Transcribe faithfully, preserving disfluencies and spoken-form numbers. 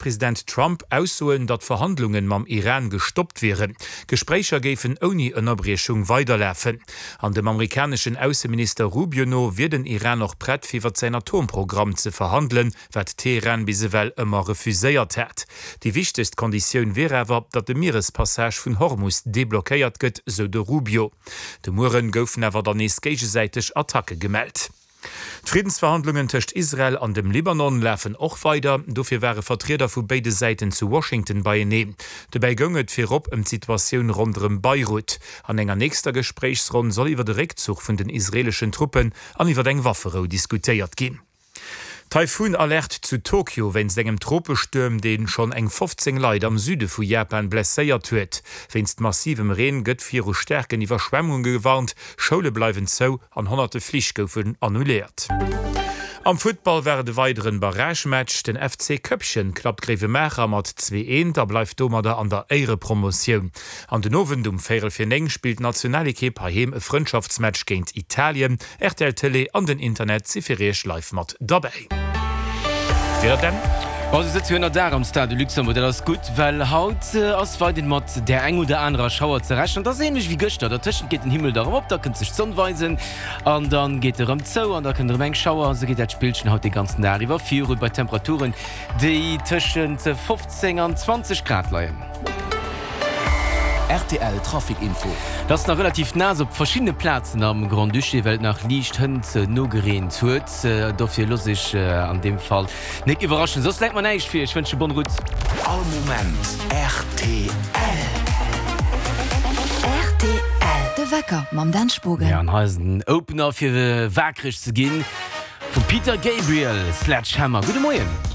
President Trump Aussoen, datt Verhandlungen mam Iran gestoppt wieren. Gespréicher géifen ouni Ënnerbriechung weiderlafen. An dem amerikaneschen Ausseminister Rubio no wier den Iran och prett fir iwwer säin Atomprogramm ze verhandelen, wat Teheran bis ewell ëmmer refuséiert hat. Déi wichtegst Konditioun wier awer, datt de Mierespassage vun Hormus deblockéiert gëtt, sou de Rubio. De Mueren goufen awer dann nees géigesäiteg Attacke gemellt. D'Friddensverhandlungen tëscht Israel an dem Libanon lafen och weider. Dofir ware Vertrieder vu béide Säiten zu Washington beieneen. Dobäi goung et virop ëm d'Situatioun ronderëm Beirut. An enger nächster Gespréichsronn soll iwwer de Réckzuch vun den israeeleschen Truppen an iwwer eng Wafferou diskutéiert ginn. Taifun-Alerte zu Tokio wéinst engem Tropestuerm, dee schonn eng fofzéng Leit am Süde vu Japan blesséiert huet. Wéinst massivem Reen gëtt viru staarken Iwwerschwemmunge gewarnt, Schoule bleiwen zou an honnerte Flich goufen annuléiert. Am Futtball war et e weideren Barragematch. Den F C Köppchen klappt Gréiwemaacher mat zwee eent a bleift domadder an der Éierepromotioun. An den Owend um véierel fir néng spillt d'Nationalekipp heiheem e Frëndschaftsmatch géint Italien. R T L Tëlee an den Internet si fir iech live mat derbäi. Wieder Dan. Bon, se sëtze jo ënner Daach am Stade de Luxembourg. Dat ass gutt, well haut ass weiderhin mat där eng oder anerer Schauer ze rechnen. Dat ass änlech wéi gëschter. Dertëschent geet den Himmel da rëm op, da kënnt sech d'Sonn weisen an da geet e rëm zou an da kënnt erëm eng Schauer. Esou geet dat Spillchen haut de ganzen Dag iwwer virun, bei Temperaturen, déi tëschent fofzéng an zwanzeg Grad leien. R T L Trafic Info. Et ass nach relativ naass op verschiddene Plazen am Grand-Duché, well et nach liicht hënt nogereent huet. Dofir looss ech an deem Fall nik iwwerraschen. Soss läit mer näischt vir. Ech wënsche bonne route. All Moment R T L. R T L, De Wecker mam Dan Spogen. Ja, an hei ass den Opener fir waakreg ze ginn vum Peter Gabriel, Sledgehammer. Gudde Moien.